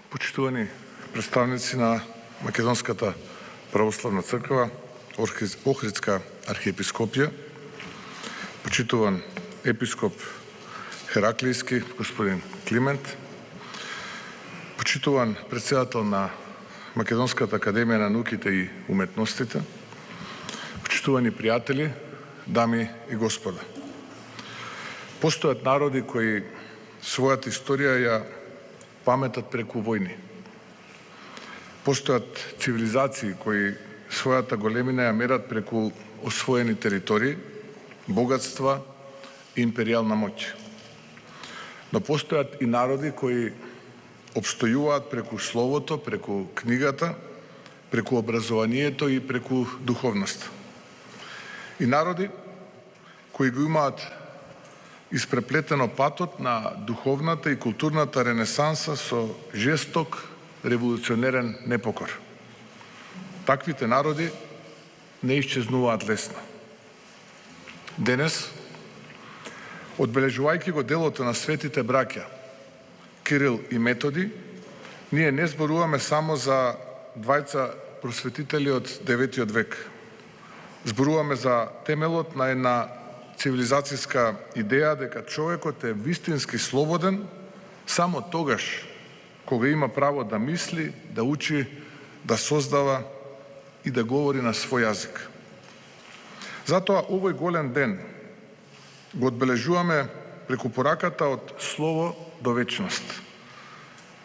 Почитувани представници на Македонската православна црква, Охридска архиепископија, почитуван епископ Хераклијски, господин Климент, почитуван председател на Македонската академија на науките и уметностите, почитувани пријатели, дами и господа. Постојат народи кои својата историја ја паметат преку војни. Постојат цивилизации кои својата големина ја мерат преку освоени територии, богатства и империјална моќ. Но постојат и народи кои обстојуваат преку словото, преку книгата, преку образованието и преку духовноста. И народи кои го имаат испреплетено патот на духовната и културната ренесанса со жесток, револуционерен непокор. Таквите народи не исчезнуваат лесно. Денес, одбележувајќи го делото на светите браќа Кирил и Методи, ние не зборуваме само за двајца просветители од 9 век. Зборуваме за темелот на една цивилизацијска идеја дека човекот е вистински слободен само тогаш кога има право да мисли, да учи, да создава и да говори на свој јазик. Затоа овој голем ден го одбележуваме преку пораката од слово до вечност,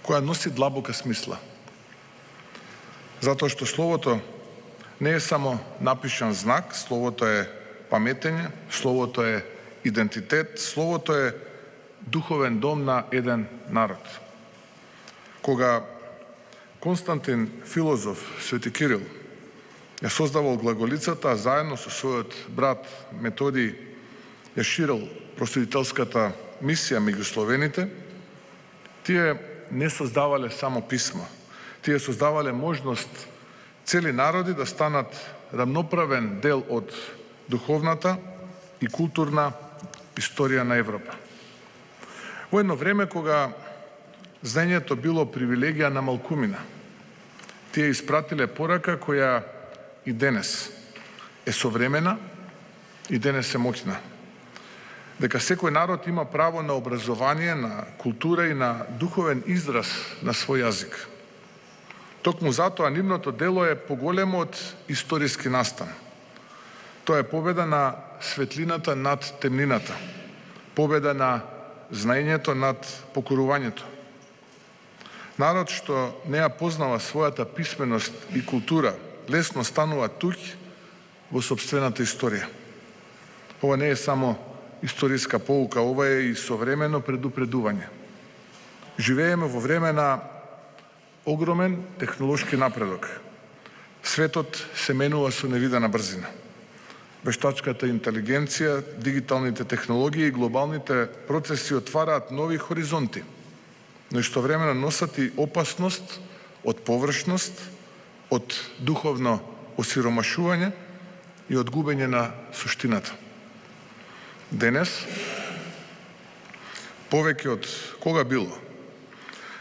која носи длабока смисла. Затоа што словото не е само напишан знак, словото е паметење, словото е идентитет, словото е духовен дом на еден народ. Кога Константин филозоф Свети Кирил ја создавал глаголицата, а заедно со својот брат Методий ја ширил просветителската мисија меѓу словените, тие не создавале само писма, тие создавале можност цели народи да станат рамноправен дел од духовната и културна историја на Европа. Во едно време кога знаењето било привилегија на малкумина, тие испратиле порака која и денес е современа и денес е моќна. Дека секој народ има право на образование, на култура и на духовен израз на свој јазик. Токму затоа нивното дело е поголемо од историски настан. Тоа е победа на светлината над темнината, победа на знаењето над покорувањето. Народ што не ја познава својата писменост и култура, лесно станува туѓ во сопствената историја. Ова не е само историска поука, ова е и современо предупредување. Живееме во време на огромен технолошки напредок. Светот се менува со невидена брзина. Вештачката интелигенција, дигиталните технологии и глобалните процеси отвараат нови хоризонти, но истовремено носат и опасност од површност, од духовно осиромашување и од губење на суштината. Денес, повеќе од кога било,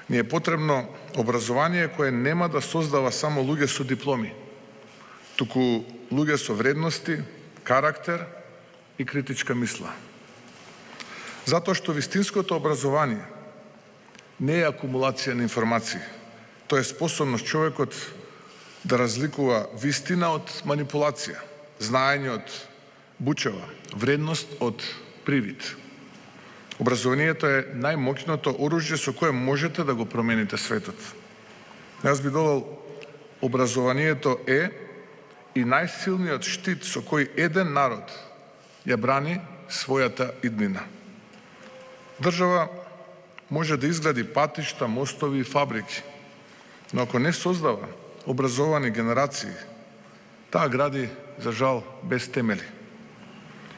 ни е потребно образование кое нема да создава само луѓе со дипломи, туку луѓе со вредности, карактер и критичка мисла. Затоа што вистинското образование не е акумулација на информации. Тоа е способност човекот да разликува вистина од манипулација, знаење од бучава, вредност од привид. Образованието е најмоќното оружје со кое можете да го промените светот. Јас би додал, образованието е и најсилниот штит со кој еден народ ја брани својата иднина. Држава може да изгради патишта, мостови и фабрики, но ако не создава образовани генерации, таа гради, за жал, без темели.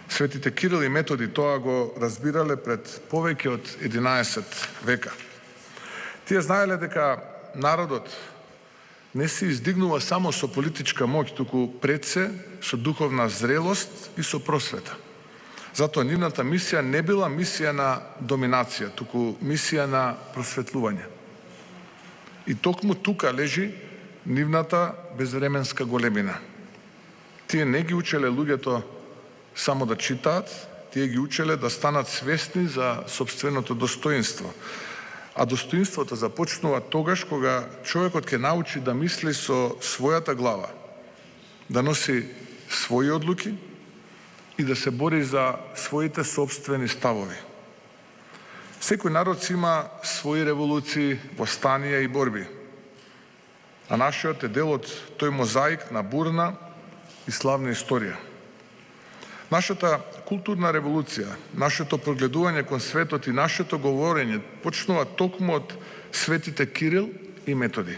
Светите Кирил и Методи тоа го разбирале пред повеќе од 11 века. Тие знаеле дека народот не се издигнува само со политичка моќ, туку пред се со духовна зрелост и со просвета. Затоа нивната мисија не била мисија на доминација, туку мисија на просветлување. И токму тука лежи нивната безвременска големина. Тие не ги учеле луѓето само да читаат, тие ги учеле да станат свесни за собственото достоинство. А достоинството започнува тогаш кога човекот ќе научи да мисли со својата глава, да носи своји одлуки и да се бори за своите собствени ставови. Секој народ има своји револуции, востанија и борби. А нашиот е дел од тој мозаик на бурна и славна историја. Нашата културна револуција, нашето прогледување кон светот и нашето говорење почнува токму од светите Кирил и Методи.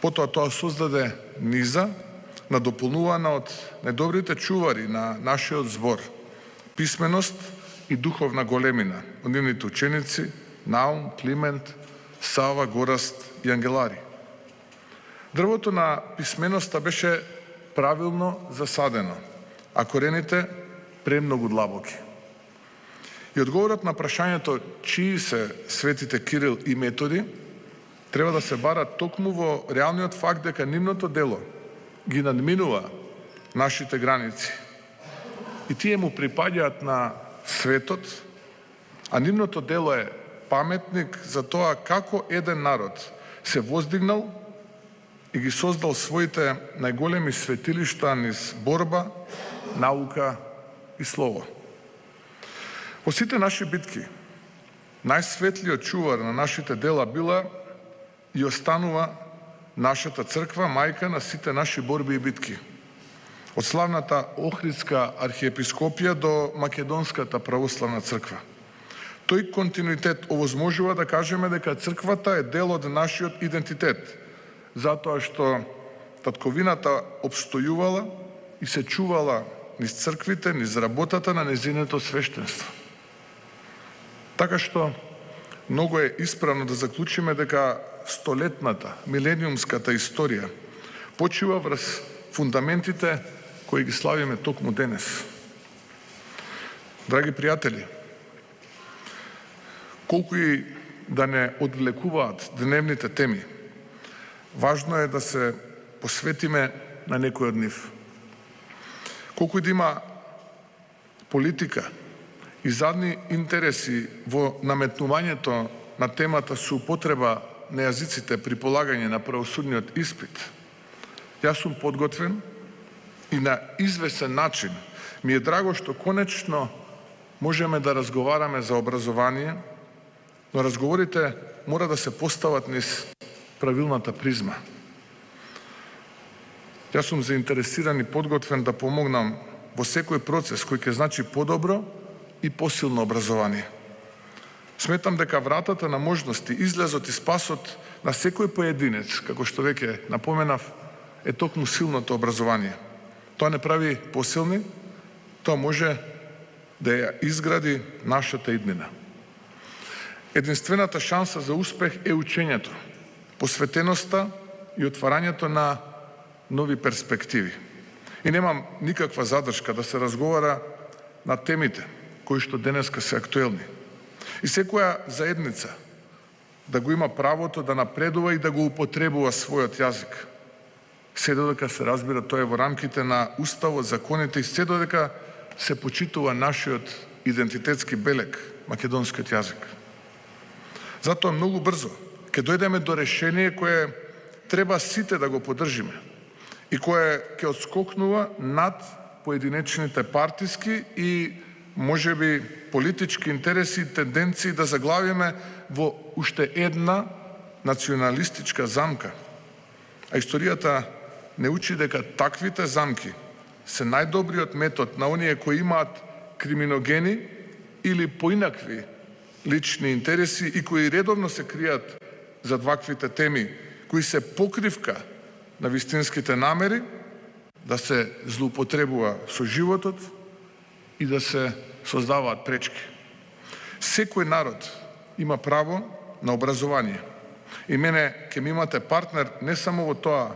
Потоа тоа создаде низа, надополнувана од најдобрите чувари на нашиот збор, писменост и духовна големина, од нивните ученици Наум, Климент, Сава, Гораст и Ангелари. Дрвото на писменоста беше правилно засадено, а корените премногу длабоки. И одговорот на прашањето чии се светите Кирил и Методи треба да се бара токму во реалниот факт дека нивното дело ги надминува нашите граници. И тие му припаѓаат на светот, а нивното дело е паметник за тоа како еден народ се воздигнал и ги создал своите најголеми светилишта низ борба, наука и слово. Во сите наши битки, најсветлиот чувар на нашите дела била и останува нашата црква, мајка на сите наши борби и битки. Од славната Охридска архиепископија до Македонската православна црква. Тој континуитет овозможува да кажеме дека црквата е дел од нашиот идентитет, затоа што татковината обстојувала и се чувала низ црквите, низ работата на незиното свештенство. Така што многу е исправно да заклучиме дека столетната, милениумската историја почива врз фундаментите кои ги славиме токму денес. Драги пријатели, колку и да не одвлекуваат дневните теми, важно е да се посветиме на некој од нив. Колку и да има политика и задни интереси во наметнувањето на темата со употреба на јазиците при полагање на правосудниот испит, јас сум подготвен и на извесен начин ми е драго што конечно можеме да разговараме за образование, но разговорите мора да се постават низ правилната призма. Јас сум заинтересиран и подготвен да помогнам во секој процес кој ќе значи подобро и посилно образование. Сметам дека вратата на можности, излезот и спасот на секој поединец, како што веќе напоменав, е токму силното образование. Тоа не прави посилни, тоа може да ја изгради нашата иднина. Единствената шанса за успех е учењето, посветеноста и отварањето на нови перспективи. И немам никаква задршка да се разговара на темите кои што денеска се актуелни. И секоја заедница да го има правото да напредува и да го употребува својот јазик. Се додека се разбира тоа е во рамките на уставот, законите и се додека се почитува нашиот идентитетски белег, македонскиот јазик. Затоа многу брзо ќе дојдеме до решение кое треба сите да го поддржиме и кое ќе отскокнува над поединечните партиски и можеби политички интереси и тенденции да заглавиме во уште една националистичка замка. А историјата не учи дека таквите замки се најдобриот метод на оние кои имаат криминогени или поинакви лични интереси и кои редовно се кријат зад ваквите теми, кои се покривка на вистинските намери да се злоупотребува со животот и да се создаваат пречки. Секој народ има право на образование. И мене ќе ми имате партнер не само во тоа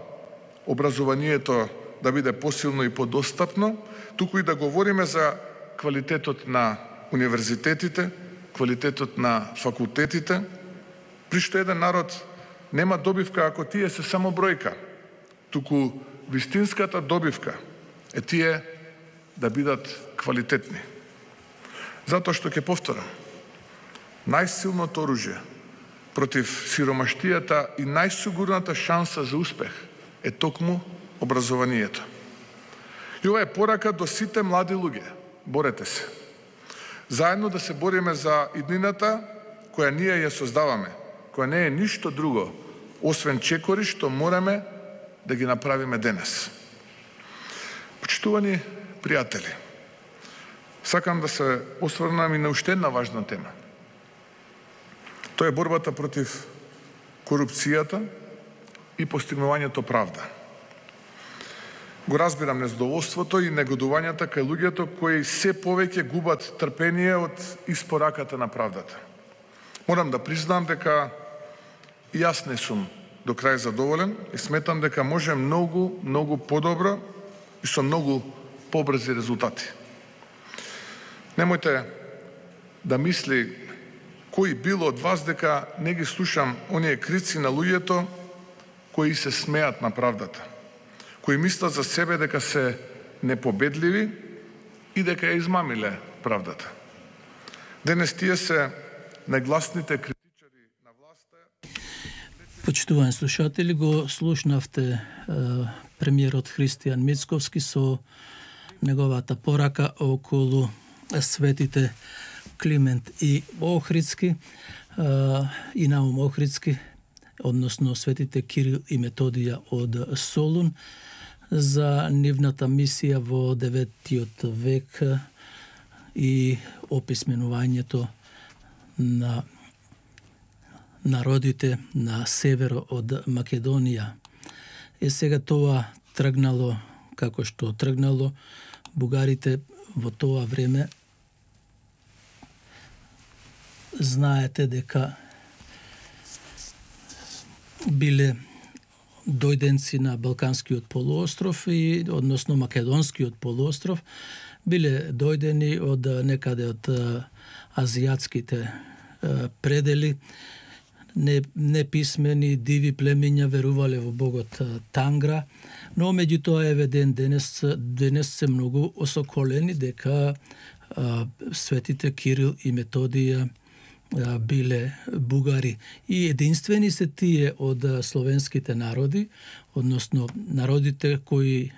образованието да биде посилно и подостапно, туку и да говориме за квалитетот на универзитетите, квалитетот на факултетите При што еден народ нема добивка ако тие се само бројка, туку вистинската добивка е тие да бидат квалитетни. Затоа што ќе повторам, најсилното оружје против сиромаштијата и најсигурната шанса за успех е токму образованието. И ова е порака до сите млади луѓе. Борете се. Заедно да се бориме за иднината која ние ја создаваме, која не е ништо друго, освен чекори што мораме да ги направиме денес. Почитувани пријатели, сакам да се осврнам и на уште една важна тема. Тоа е борбата против корупцијата и постигнувањето правда. Го разбирам незадоволството и негодувањата кај луѓето кои се повеќе губат трпение од испораката на правдата. Морам да признам дека и јас не сум до крај задоволен и сметам дека може многу подобро и со многу побрзи резултати. Немојте да мисли кој било од вас дека не ги слушам оние крици на луѓето кои се смеат на правдата, кои мислат за себе дека се непобедливи и дека ја измамиле правдата. Денес тие се најгласните критичари на власта. Почитувани слушатели, го слушнавте премиерот Христијан Мицковски со неговата порака околу светите Климент и Охридски и Наум Охридски, односно светите Кирил и Методија од Солун, за нивната мисија во 9 век и описменувањето на народите на северо од Македонија. Сега тоа тргнало како што тргнало. Бугарите во тоа време знаете дека биле дојденци на Балканскиот полуостров и односно Македонскиот полуостров, биле дојдени од некаде од азијатските предели, неписмени, диви племиња верувале во богот Тангра, но меѓутоа еве денес се многу осоколени дека светите Кирил и Методија биле бугари. И единствени се тие од словенските народи, односно народите кои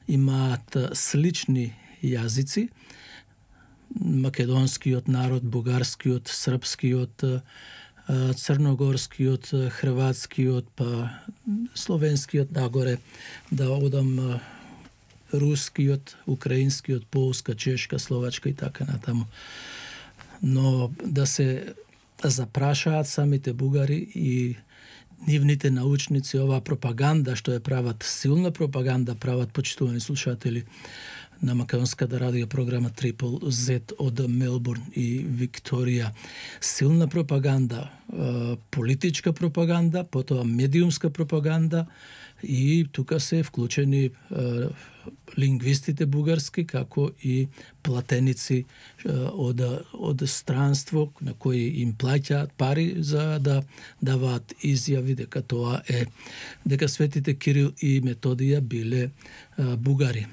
имаат слични јазици, македонскиот народ, бугарскиот, српскиот, црногорскиот, хрватскиот, па словенскиот, нагоре да одам рускиот, украинскиот, полска, чешка, словачка и така натаму. Но да се запрашаат самите бугари и нивните научници, оваа пропаганда што ја прават, силна пропаганда прават, почитувани слушатели, на македонската радио програма Triple Z од Мелбурн и Викторија. Силна пропаганда, политичка пропаганда, потоа медиумска пропаганда и тука се вклучени лингвистите бугарски, како и платеници од странство на кои им плаќаат пари за да даваат изјави дека тоа е, дека светите Кирил и Методија биле бугари.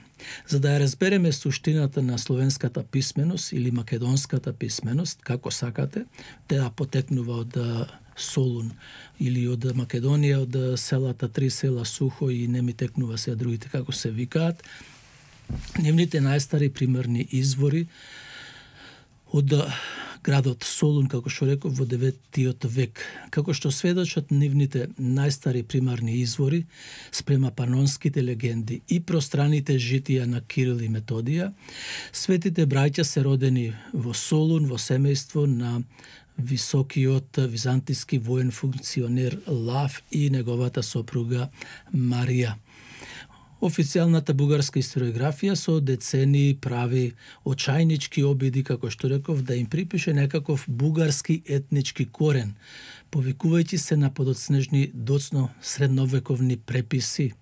За да ја разбереме суштината на словенската писменост или македонската писменост, како сакате, таа потекнува од Солун или од Македонија, од селата, 3 села Сухо и не ми текнува се другите како се викаат. Нивните најстари примерни извори од градот Солун, како што реков, во 9 век. Како што сведочат нивните најстари примарни извори спрема панонските легенди и пространите житија на Кирил и Методија, светите браќа се родени во Солун во семејство на високиот византиски воен функционер Лав и неговата сопруга Марија. Официјалната бугарска историографија со децени прави очајнички обиди, како што реков, да им припише некаков бугарски етнички корен, повикувајќи се на подоцнежни доцно средновековни преписи.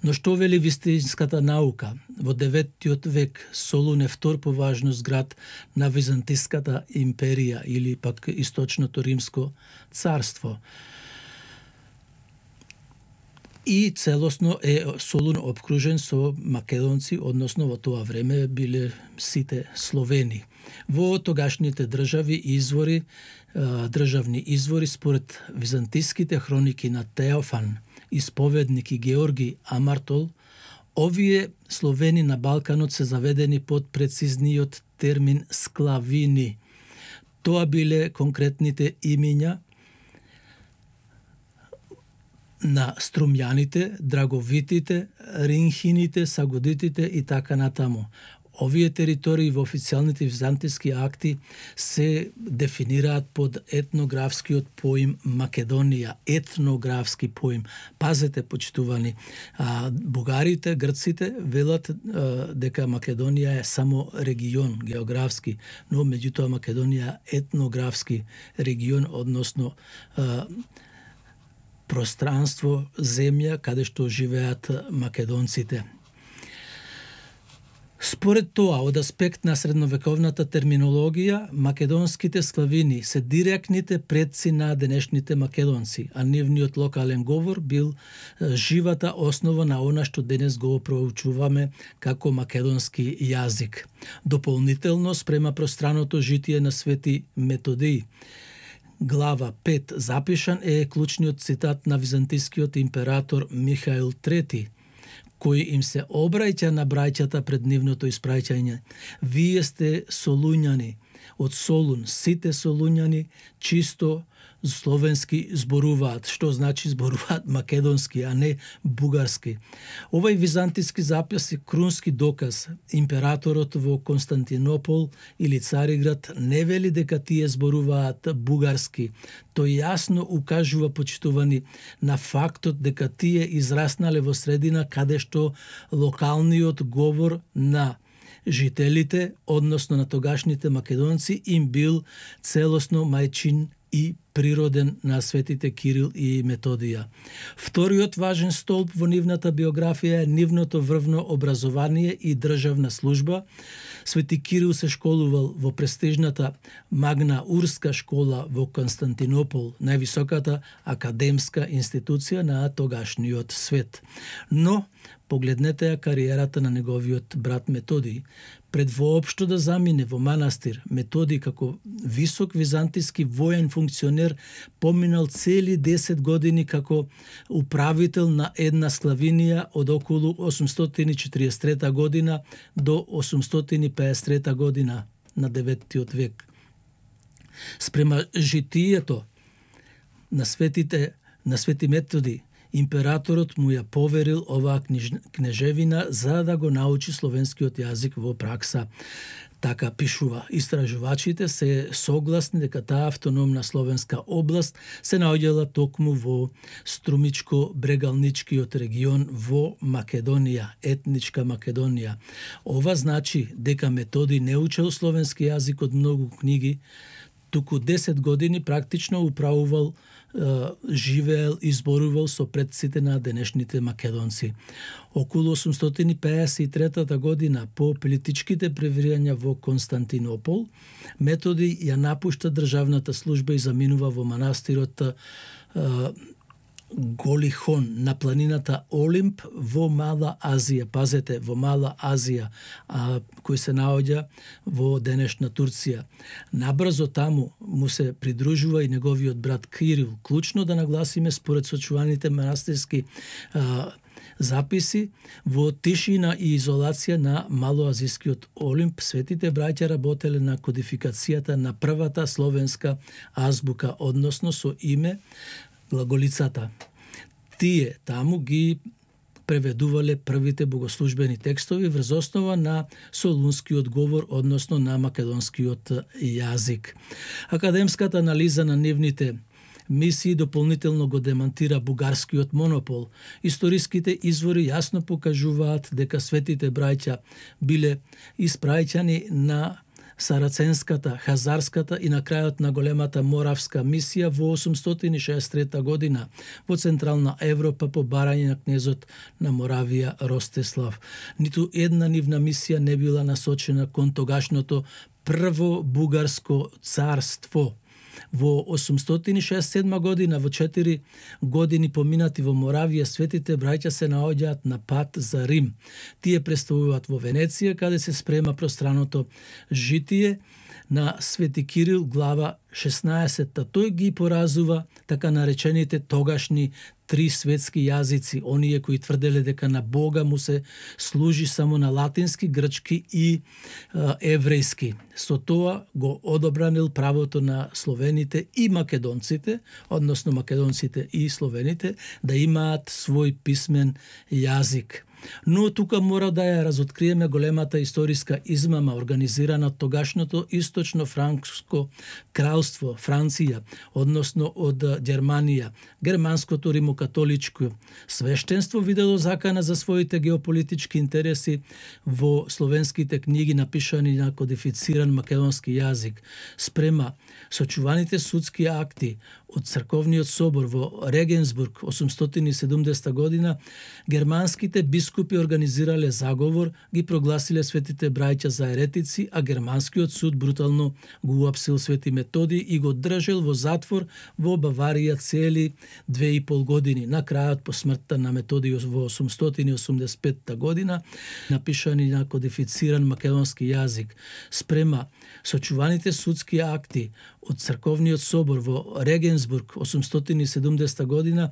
Но што вели вистинската наука? Во 9 век Солун е втор по важност град на Византиската империја или пак Источното римско царство. И целосно е Солун обкружен со македонци, односно во тоа време биле сите Словени. Во тогашните државни извори според византиските хроники на Теофан, исповедник и Георги Амартол, овие Словени на Балканот се заведени под прецизниот термин склавини. Тоа биле конкретните имиња на струмјаните, драговитите, ринхините, сагодитите и така натаму. Овие територии во официјалните византиски акти се дефинираат под етнографскиот поим Македонија, етнографски поим. Пазете, почитувани, бугарите, грците велат дека Македонија е само регион географски, но меѓутоа Македонија е етнографски регион, односно пространство, земја каде што живеат македонците. Според тоа, од аспект на средновековната терминологија, македонските склавини се директните предци на денешните македонци, а нивниот локален говор бил живата основа на она што денес го проучуваме како македонски јазик. Дополнително спрема пространото житие на Свети Методиј. Глава 5 запишан е клучниот цитат на византискиот император Михаил III, кој им се обраќа на браќата пред нивното испраќање. Вие сте солуњани, од Солун, сите солуњани чисто словенски зборуваат, што значи зборуваат македонски, а не бугарски. Овај византиски запис е крунски доказ. Императорот во Константинопол или Цариград не вели дека тие зборуваат бугарски. Тој јасно укажува, почитувани, на фактот дека тие израснале во средина каде што локалниот говор на жителите, односно на тогашните македонци, им бил целосно мајчин и природен на светите Кирил и Методија. Вториот важен столб во нивната биографија е нивното врвно образование и државна служба. Свети Кирил се школувал во престижната Магна Урска школа во Константинопол, највисоката академска институција на тогашниот свет. Но погледнете ја кариерата на неговиот брат Методиј. Пред воопшто да замине во манастир, Методиј како висок византиски воен функционер поминал цели 10 години како управител на една склавинија од околу 843 година до 853 година на 9 век. Спрема житието на Свети Методиј, императорот му ја поверил оваа кнежевина за да го научи словенскиот јазик во пракса. Така пишува. Истражувачите се согласни дека таа автономна словенска област се наоѓала токму во Струмичко-Брегалничкиот регион во Македонија, етничка Македонија. Ова значи дека Методиј не учел словенски јазик од многу книги, туку 10 години практично управувал, живеел и зборувал со предците на денешните македонци. Околу 853 година, по политичките превирања во Константинопол, Методиј ја напушта државната служба и заминува во манастирот Голихон на планината Олимп во Мала Азија. Пазете, во Мала Азија, кој се наоѓа во денешна Турција. Набрзо таму му се придружува и неговиот брат Кирил. Клучно да нагласиме, според сочуваните манастирски записи, во тишина и изолација на малоазискиот Олимп, светите браќа работеле на кодификацијата на првата словенска азбука, односно со име глаголицата. Тие таму ги преведувале првите богослужбени текстови врз основа на солунскиот говор, односно на македонскиот јазик. Академската анализа на нивните мисии дополнително го демантира бугарскиот монопол. Историските извори јасно покажуваат дека светите браќа биле испраќани на Сараценската, Хазарската и на крајот на големата Моравска мисија во 863 година во Централна Европа по барање на кнезот на Моравија Ростислав. Ниту една нивна мисија не била насочена кон тогашното прво бугарско царство. Во 867 година, во 4 години поминати во Моравија, светите браќа се наоѓаат на пат за Рим. Тие престојуваат во Венеција, каде се спрема пространото житие на Свети Кирил, глава 16. Тој ги поразува така наречените тогашни три светски јазици, оние кои тврделе дека на Бога му се служи само на латински, грчки и еврејски. Со тоа го одобранил правото на словените и македонците, односно македонците и словените, да имаат свој писмен јазик. Но тука мора да ја разоткриеме големата историска измама организирана од тогашното источно франкско кралство, Франција, односно од Германија. Германското римокатоличко свештенство видело закана за своите геополитички интереси во словенските книги напишани на кодифициран македонски јазик. Спрема сочуваните судски акти од Црковниот собор во Регенсбург 870 година, германските бискупи организирале заговор, ги прогласиле светите браќа за еретици, а германскиот суд брутално го уапсил Свети Методи и го држел во затвор во Баварија цели 2,5 години. На крајот, по смртта на Методи во 885 година, напишани на кодифициран македонски јазик. Спрема сочуваните судски акти од Црковниот собор во Регенсбург 870 година,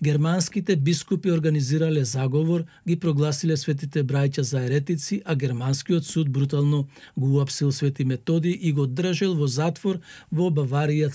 германските бискупи организирале заговор, ги прогласиле светите браќа за еретици, а германскиот суд брутално го уапсил Свети Методи и го држел во затвор во Баварија